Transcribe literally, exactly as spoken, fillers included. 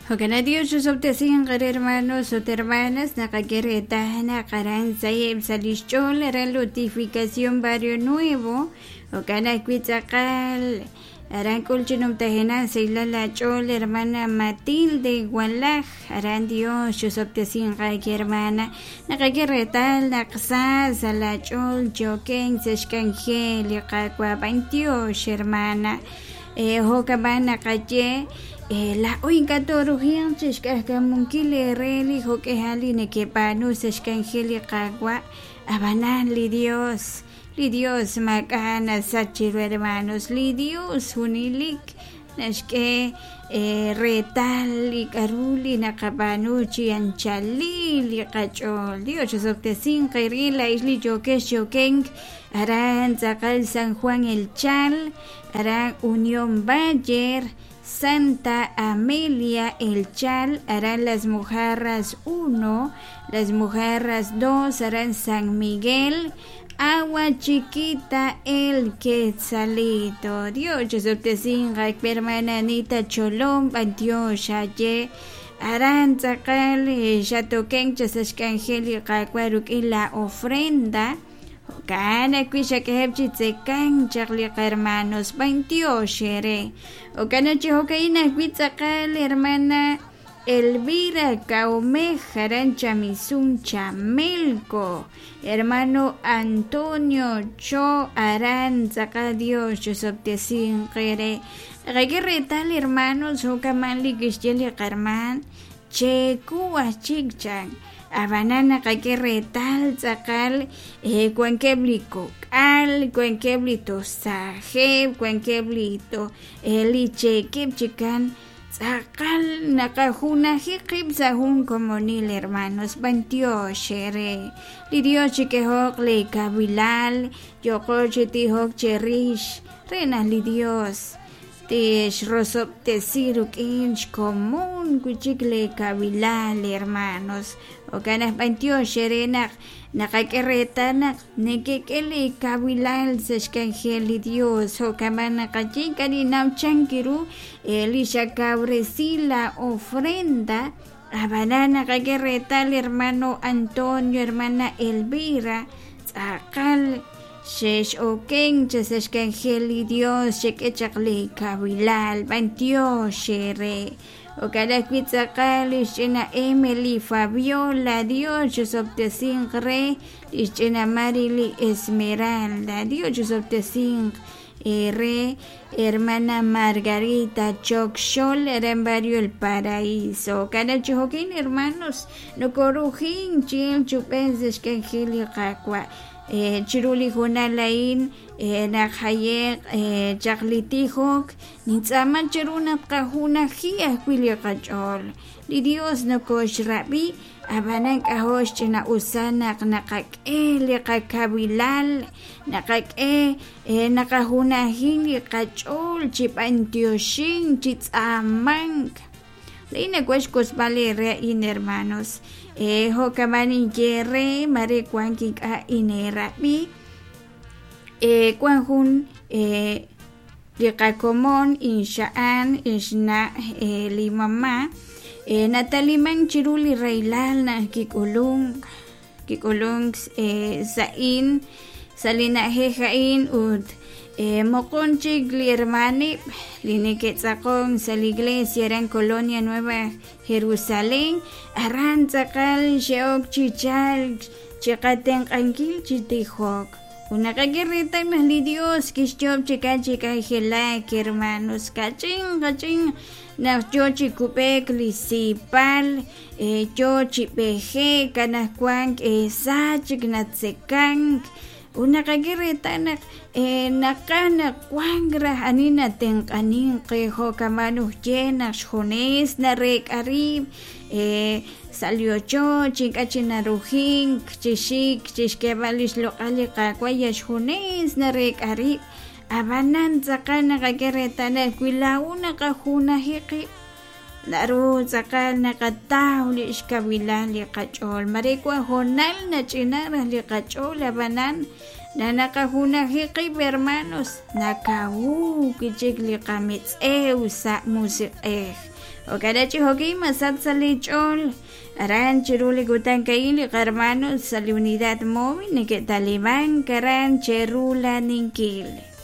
Jo'kan Dios chusob'tesinq re hermanos ut hermanas naqak'e reetal naq aran sa'eb' sa' lix ch'ool aran Lotificación Barrio Nuevo jo'kan ajwi' tz'aqal aran k'ul chi numtajenaq sahilal ach'ool hermana Matilde Walaj aran Dios chusob'tesinq aake hermana naqak'e reetal naq sa sa' la ch'ool choken sa' xk'anjel li Qaawa' b'antiox hermana eh, jo'kab'an naqaye eh, la'o ink'a' torujiq chixk'ajkamunkil ere li jo'k'ejal li nekeb'aanu sa' xk'anjel li Qaawa' ab'anan li Dios li Dios maak'a' nasach chiru hermanos li Dios junelik naxk'e eh, reetal li k'aru li naqab'aanu chi anchalil li qach'ool Dios chusob'tesinq qeril la'ix li yokex chokenk aran tz'aqal San Juan El Chal aran Unión Bayer Santa Amelia El Chal, aran Las Mojarras uno, Las Mojarras dos, aran San Miguel, Agua Chiquita El Quetzalito. Dios chusob'tesinqa hermana Anita Cholom, b'antiox aye aran tz'aqal xatoken sa' xk'anjel li Qaawa' ruk'in la ofrenda jo'kan ajwi' xak'ejeb' chi tzekan chaq li hermanos b'antiox ere jo'kan chi jo'ka'in ajwi' tz'aqal hermana Elvira Caumej aran Chamizun Chamelco hermano Antonio Cho aran tz'aqal Dios chusob'tesinq ere naqak'e reetal hermanos jo'kaman li kixye li qarman cheku ajchik chan ab'anan naqak'e reetal tz'aqal eh, wankeb' li kok'al wankeb' li tosajeb' wankeb' li to eh, li cheekeb' chikan tz'aqal naqajunaji qib' sa' jun komonil hermanos b'antiox ere li Dios chik'ejoq li kabilal yoqo chi tijok cherix re naq li Dios tixrosob'tesi ruk'in xkomon wi'chik li kabilal hermanos jo'kan naq b'antiox ere naq naqak'e reetal naq nekek'e li kabilal sa' xk'anjel li Dios jo'kaman naqaye ink'a' ninnaw chan kiru eh, li xakawresi la ofrenda ab'anan naqak'e reetal hermano Antonio hermana Elvira tz'aqal xex oken sa' xk'anjel li Dios xek'e chaq li kabilal b'antiox ere jo'kan ajwi' tz'aqal lix ch'ina Emily Fabiola Dios chusob'tesinq re lix ch'ina Marily Esmeralda Dios chusob'tesinq re hermana Margarita Chokxol aran barrio El Paraíso jo'kan chi jo'kin hermanos nokorujin chil chub'en sa' xk'anjel li Qaawa' eh, chiru li junal a'in eh, naq jaye'q eh, chaq li tijok nintz'aaman chiru naq qajunaji ajwi' li qach'ool li Dios nokoxrab'i ab'anan k'ajo' xch'ina'usal naq naqak'e li qakabilal naqak'e eh, naqajunaji li qach'ool chi b'antioxin chi tz'aamank la'in nakuaj xk'osb'al ere a'in hermanos eh, jo'kaman inye re mare wank ink'a' inerab'i eh, wan jun eh, li qakomon inxa'an inxna' eh, li mamá eh, nataliman chiru li rahilal naq kik'ulunk kik'ulunk eh, sa'in sa' li na'ajej a'in ut eh, moqon chik li hermanib li neke'tz'aqon sa' li iglesia aran Colonia Nueva Jerusalén aran tz'aqal xe'ok chi chalk chi qatenq'ankil chi tijok ut naqak'e reetal naq li Dios kixyoob' chikan chi k'anjelak hermanos kach'in kach'in naq yo chi kub'ek li sipal eh, yo chi b'ejek anaqwan eh, sa chik natzekank ut naqak'e reetal naq eh, naqaj naq wank raj ani natenq'anin qe jo'kaman ujye naq xjunes narek'a riib' eh, sa' li ochoch ink'a' chi narujink chi xik chi xk'eeb'al li xloq'al li Qaawa' ya xjunes narek'a riib' ab'anan tz'aqal naqak'e reetal naq wi laa'u naqajunaji qib' naru tz'aqal naqataw li xkawilal li qach'ool mare wan hoonal nach'ina raj li qach'ool ab'anan Naq naqajunaji qib', hermanos, nakawu wi' chik li qametz'ew sa' musiq'ej. Jo'kan chi jo'kin masach sa' li ch'ool aran chiru li kutan a'in li qahermanos sa' li unidad móvil neke'talimank aran cherulaninkil.